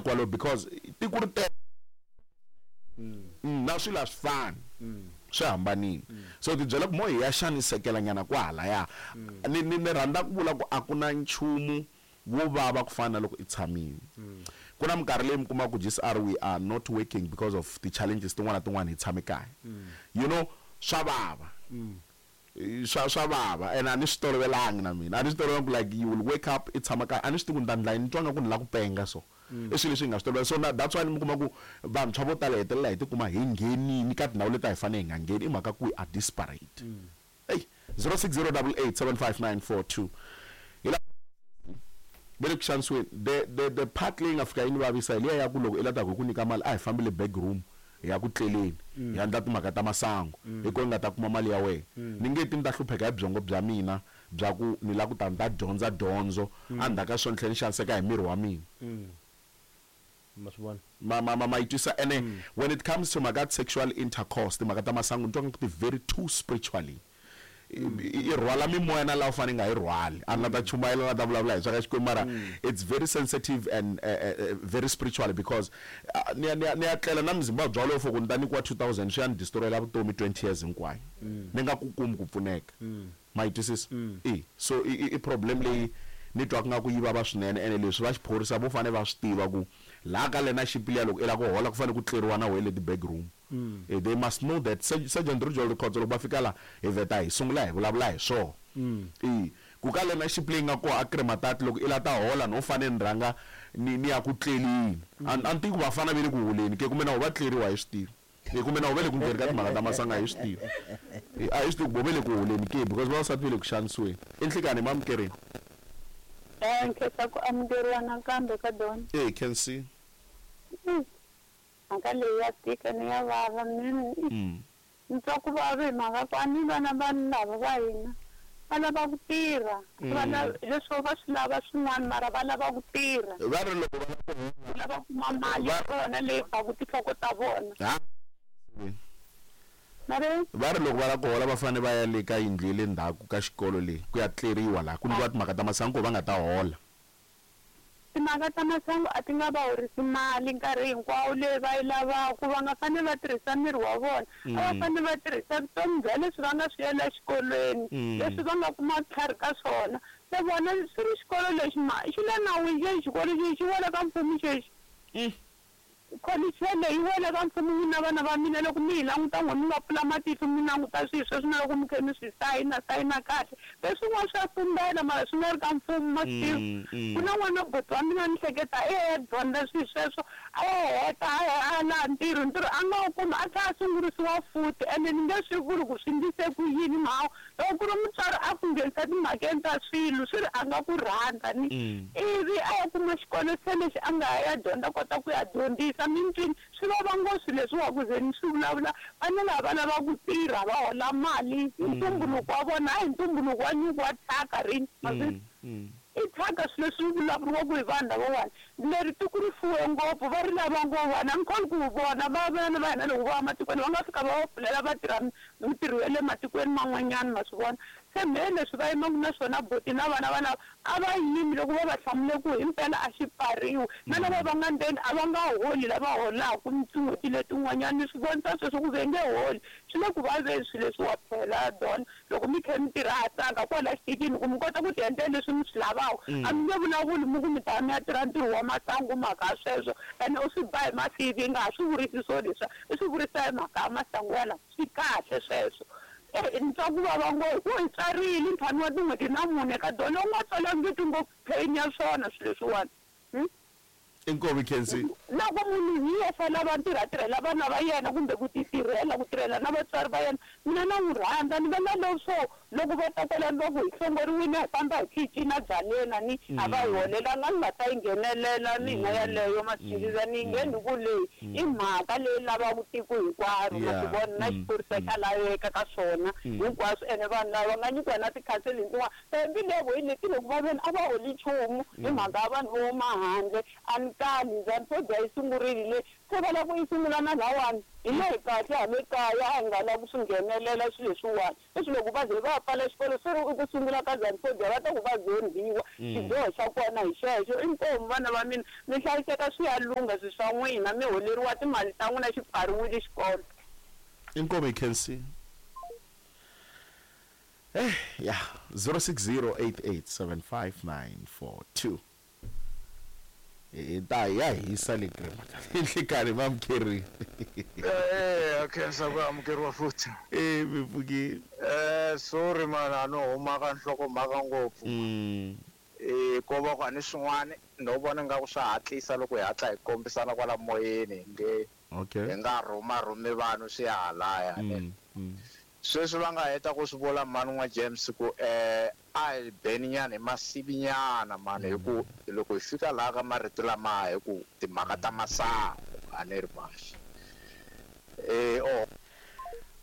kwalo because tiko ri tele na swilo a swi fani swi hambanile so ti byela ku mo hi ya xanisekela nyana kwahalaya ni rhandza ku vula ku a ku na nchumu wo vava ku fana na loko i tshamile ku na minkarhi leyi mi kuma ku GCR we are not working because of ti-challenges tin'wana na tin'wana hi tshame kaya you know swa vava swa vava and a ni swi tolovelangi na mina a ni swi tolovelangi ku like you will wake up i tshama kaya a ni swi tivi ku ni ta ndla yini ni twa nga ku ni la ku penga so i swilo leswi hi nga swi tolovela so na that's why mi kuma ku vantshwa vo tala hi hetelela hi tikuma hi nghenini ka tindhawu leti a hi fanele hi nga ngheni i mhaka ku we are desperate ey 0608875942 hi la ve le ku xanisiweni the part leyi nga fika yi ni vavisa hi liya ya ku loko i la ta ku hi ku nyika mali a hi fambile back room hi ya ku tleleni hi endla timhaka ta masangu hi ko ni nga ta kuma mali ya wena ni nge ti ni ta hlupheka hi byongo bya mina bya ku ni la ku ta ni ta dyondza dyondzo endzhaku ka swona ni tlhela ni xaniseka hi miri wa mina ma swi vona ma yi twisa ene when it comes to mhaka sexual intercourse timhaka ta masangu ni twa nga ku ti very too spiritually i rhwala mimoya na laha u fanele nga yi rhwali a nga ta chumayela na ta vulavula hi swa ka Xikwembu mara it's very sensitive and very spiritual because ni ya ni ya ni ya tlela na Muzimbabwe walowo for ku ni ta nyikiwa 2000 swi ya ni destroyela vutomi 20 years hinkwayo ni nga ku kumi ku pfuneka ma yi twisisa e so i problem leyi ni twaka nga ku yi vava swinene ene leswi va xiphorisa vo fanele va swi tiva ku laha ka learnership liya loko i lava ku hola ku fanele ku tleriwa na wehe le ti-back room they must know that Sergeant Rijol Rikhotso loko va fika la hi vheta hi sungula hi vulavula hi swona e ku ka learnership leyi nga kona a Krematati loko i la ta hola no fanele ni rhanga ni ya ku tlelini a ni tivi ku vafana ve le ku holeni ke kumbe na vo va tleriwa hi swi tivi e kumbe na vo ve le ku ngheni ka timhaka ta masanga hi swi tivi a hi swi tivi ku vo ve le ku holeni ke because vavasati ve le ku xanisiweni i nhlikani hi mamukerini Nkhensa ku amukeriwa nakambe ka Don. E Khensi Mhaka leyi ya tika ni ya vava ni ni twa ku vava hi mhaka ku a ni vana vanhu lava va hina va lava ku tirha va lava leswi va swi lava swin'wana mara va lava ku tirha va ri loko va lava ku lava kuma mali ya vona leyi baku tinhloko ta vona va ri loko va lava ku hola va fanele va ya le ka yindlu ya le ndzhaku ka xikolo leyi ku ya tleriwa laha ku endliwa timhaka ta masangu ku va nga ta hola Timhaka ta masangu a ti nga va horisi mali nkarhi hinkwawo leyi va yi lavaka. Va nga fanele va tirhisa miri wa vona. A va fanele va tirhisa vutomi bya leswi va nga swi yela exikolweni, leswi va nga kuma vutlhari ka swona. Se vona swi ri xikolo lexi ma xi le nawini xexi xikolo xexi xi wela ka mfumo xexi. Kholichi yeleyo yi wela ka mfumo n'wina vana va mina loko mi yi languta n'we mi nga pfula matihlo mi languta swilo sweswi na loko mi khe mi swi sayina sayina kahle leswin'wana swa tumbela mara swi nga ri ka mfumo ma swi tiva ku na n'wana buti wa mina ni hleketa i ya dyondza swilo sweswo a ya heta a ya a laha ntirho ntirho a nga wu kumi a tlhela a sungurisiwa futhi ene ni nge swi vuli ku swi ndlise ku yini mhawu loko ku ri mutswari a ku nghenisa timhakeni ta swilo swi ri a nga ku rhandza ni ivi a ya kuma xikolo se lexi a nga ya dyondza kota ku ya dyondzisa mintwini swi vava ngopfu leswiwa ku ze ni swi vulavula vana lava va lava ku tirha va hola mali hi ntumbuluko wa vona hayi hi ntumbuluko wa nyuku wa thyaka rini ma swi i thyaka swilo leswi vulavuriwaka hi vanhu lavawani leri tiko ri fuwe ngopfu va ri lava ngopfu vanhu a ni kholwi ku vona va vana va hina loko va ya matikweni va nga fika va va pfulela va tirha mintirho ya le matikweni man'wanyana ma swi vona se mehe leswi va yimaka na swona buti na vana va lava a va yimi loko va va hlamule ku himpela a xi pfariwi na lava va nga ndzeni a va nga holi lava holaka tin'hweti letin'wanyana ni swi vonisa sweswo ku ve nge holi swi le ku vaveni swilo leswiwa phela Don loko mi kha mi tirha ha tsaka kwala xiticini ku mi kota ku ti endlela leswi mi swi lavaka a mi nge vulavuli mi ku mi ta mi ya tirha ntirho wa masangu mhaka sweswo ene u swi ba hi masivi nga ha swi vurisi swo leswiya i swi vurisa hi mhaka ya masangu ya lawa swi kahle sweswo ni twa ku vava ngopfu ku hi tswarile ntlhanu wa tin'hweti na mune ka Don u nga tswalangiki ngopfu pain ya swona swilo leswiwani Inkomu Khensi. Loko munhu hi yexe a lava ntirho a tirhela vana va yena kumbe ku ti tirhela ku tirhela na vatswari va yena mina na n'wi rhandza ni vona leswo loko va ta kwalano va ku hi hlongoriwile hi famba hi khichina byaleni ni a va hi holelanga ni nga ta yi nghenelela mina yaleyo ma ni yi ngheni ku leyi i mhaka leyi lavaka tiko hinkwaro ma swi vona na xiphorisa xa laveka ka swona hinkwaswo ene vanhu lava va nga nyikiwa na ti-counselling tin'wana mbilu hi leti loko va veni a va holi nchumu hi mhaka ya vanhu vo huma handle a ni kali njhani swo dya yi sungurile le se va lava ku yi sungula na lawani Hina hi kahle hale kaya a hi nga lavi ku swi nghenelela swilo leswiwani. Sweswi loko va ze va ya pfala xikolo se ri i ku sungula ka Zanu-Phobia va ta ku va zondhiwa. Xidyoho xa kona hi xexo. Inkomu vana va mina mi hlayiseka swi ya lungha swilo swa n'wina mi holeriwa timali ta n'wina xi pfariwile xikolo. Inkomu hi khensile. Eh ya 0608875942. Hi ta ya hisa le nhlikani va amukeriwe. Eh, khensa ku amukeriwa futhi. Eh mi pfukile. Eh, sorry man, a no huma ka nhlokomhaka ngopfu. Eh, ko va ku a ni swin'wana no vona nga ku swa hatlisa loko hi hatla hi kombisana kwala moyeni nge Okay. hi nga rhuma rhumi vanhu swi ya halaya. Sweswi va nga heta ku swi vula mhani n'wa James ku a hi beni nyana hi masivi nyana mani hi ku loko hi fika laha ka marito lama hi ku timhaka ta masangu a ni ri maxi.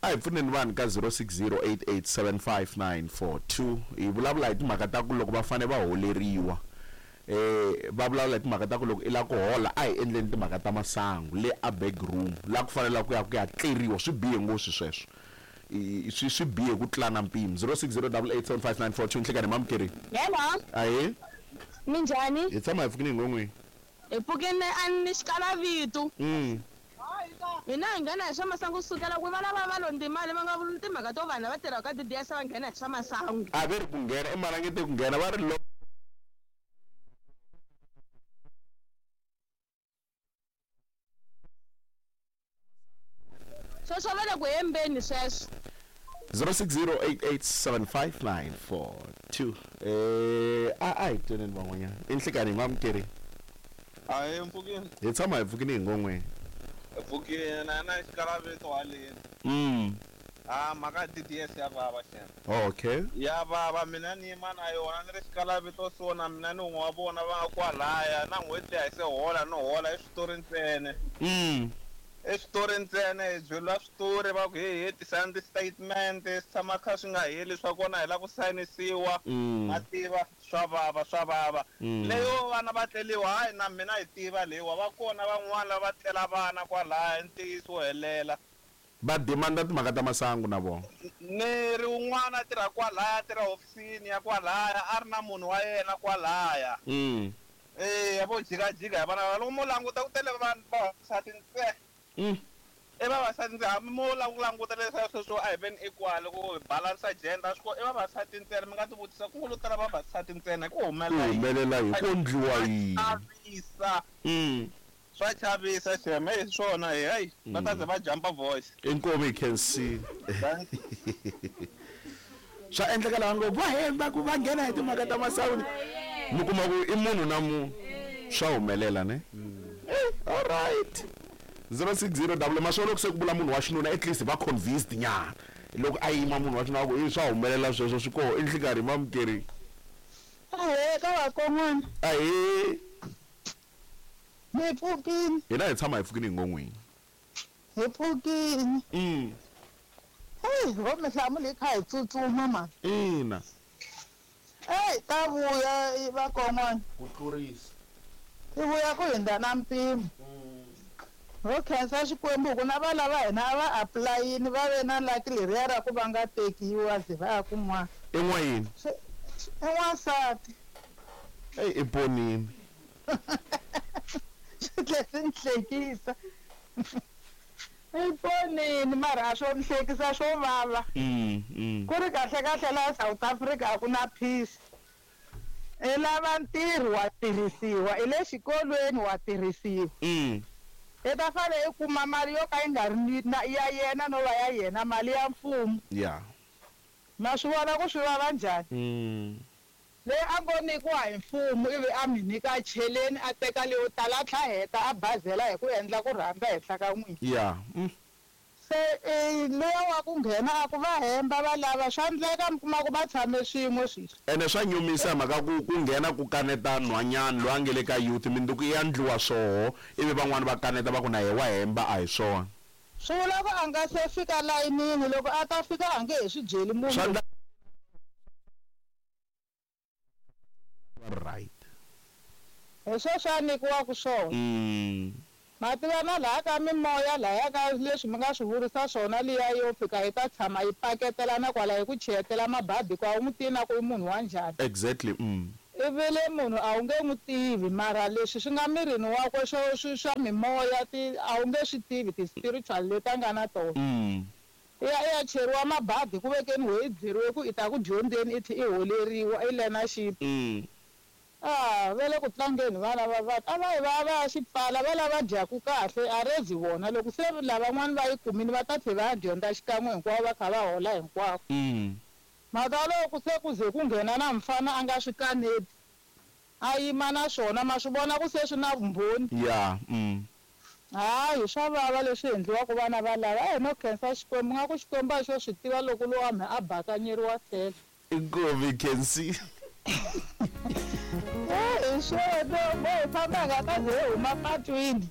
A hi pfuneni vanhu ka 0608875942 hi vulavula hi timhaka ta ku loko va fanele va holeriwa. Va vulavula hi timhaka ta ku loko i lava ku hola a hi endleni timhaka ta masangu le a back room la ku fanele ku ya ku ya tleriwa swi bihe ngopfu sweswo. Swi bihe ku tlula na mpimo. 0608875942 nhlikani mamukeri. Hello. Ahee. Minjhani? Hi tshama hi pfukini hi ngon'wini. Hi pfukini a ni xikalavitu. Hina hi nghena hi swa masangu kusukela ku va lava va londzi mali va nga vuli timhaka to vanhu lava tirhaka ka DDS va nghena hi swa masangu. A ve ri ku nghena i marangete ku nghena va ri lo Sweswo va le ku hembeni sweswo. 0608875942. A hi tweneni van'wanyana. I nhlikani hi mamukeri. Ahee mpfukini. Hi tshama hi pfukini hi ngon'weni. Pfukini na na xikalaveto haleni. Ah mhaka DDS ya vava xana. Okay. Ya vava mina ni yima na yona ni ri xikalaveto so na mina ni un'we wa vona va nga kwalaya na n'hweti leyi a hi se hola no hola i switori ntsena. I switori ntsena hi byeriwa switori va ku he tisani ti-statement swi tshama kha swi nga heli swa kona hi lava ku sayinisiwa. Ma tiva swa vava swa vava. Leyo vana va tleliwa hayi na mina hi tiva leyiwa va kona van'wana lava tlela vana kwalaya ntiyiso wo helela. Va demanda timhaka ta masangu na vona. Ni ri un'wana a tirha kwalaya a tirha hofisini ya kwalaya a ri na munhu wa yena kwalaya. Eh vo jikajika hi vana loko mo languta ku tele vanhu vavasati ntsena. I vavasati ntsena hambi mo lava ku languta leswiya sweswo a hi veni equal ku balance gender swi i vavasati ntsena mi nga ti vutisa ku ngo tala vavasati ntsena ku humelela Ku humelela yini ku endliwa yini. Chavisa. Swa chavisa xem hi swona hey va ta ze va jumpa voice. Inkomu you can see. Swa endleka laha ngo va hemba ku va nghena hi timhaka ta masangu. Mi kuma ku i munhu na munhu. Swa humelela ne? All right. 060 double maswona loko se ku vula munhu wa xinuna at least va convinced nyana. Loko a yima munhu wa xinuna ku i swa humelela sweswo swi koho i nhlikani mamukeri. Ahee ka vakon'wana. Ahee. Mi pfukini. Hina hi tshama hi pfukini hi ngon'wini. Hi pfukini. Hey, vo mi hlamuli hi kha hi tsutsuma mani. Ina. Hey, ta vuya vakon'wana. Ku tlurisa. Ti vuya ku hundza na mpimo. Ro khensa Xikwembu ku na va lava hina a va apply-ini va ve na lucky leriya ra ku va nga tekiwa ze va ya kun'wana. I n'wayini? I n'wansati. Eyi i ponini. Swi tlhe swi ni hlekisa. I ponini mara a swo ni hlekisa swo vava. Ku ri kahle kahle laha South Africa a ku na peace. I lava ntirho wa tirhisiwa, i le xikolweni wa tirhisiwa. I ta fanele i kuma mali yo ka yi nga ri na ya yena no va ya yena mali ya mfumo. Yeah. Ma swi vona ku swi vava njhani? Leyi a ngo nyikiwa hi mfumo ivi a mi nyika cheleni a teka leyo tala a tlha heta a bazela hi ku endla ku rhandza henhla ka n'wina. Yeah. Se luya wa ku nghena a ku va hemba va lava swa endleka mi kuma ku va tshame swin'we sweswi. Ene swa nyumisa mhaka ku ku nghena ku kaneta nhwanyana loyi a nge le ka youth minduku ya ndliwa swoho ivi van'wani va kaneta va ku na yehe wa hemba a hi swona. Swi vula ku a nga se fika layinini loko a ta fika a nge he swi byeli munhu. Right. Hi sweswo a nyikiwaka swona. Ma tiva na laha ka mimoya lahaya ka leswi mi nga swi vurisa swona liya yo fika yi ta tshama yi paketelana kwala yi ku chiyetela mabadi ku a wu n'wi tivi na ku i munhu wa njhani. Exactly. Ivi le munhu a wu nge n'wi tivi mara leswi swi nga mirini wakwe swo swi swa mimoya ti a wu nge swi tivi ti-spiritual leti a nga na tona. I ya i ya cheriwa mabadi ku vekeni we i byeriwe ku i ta ku dyondzeni i tlhe i holeriwa i learnership. Ah, va le ku tlangeni vana va vanhu. A va yi va ya va ya xi pfala, va lava dyaku kahle, a rezi vona. Loko se lavan'wana va yi kumile va ta tlhe va ya dyondza xikan'we hinkwavo va kha va hola hinkwavo. Mhaka loko se ku ze ku nghena na mfana a nga swi kaneti, a yima na swona, ma swi vona ku se swi na vumbhoni. Ya. Hayi, swa vava leswi endliwaka vana valava. A hi no khensa Xikwembu, nga ku Xikwembu a xo swi tiva loko lowa mhe a bakanyeriwa tlhelo. Inkomu Khensi. Hi swona, mo hi famba hi nga ta ze hi huma patwini.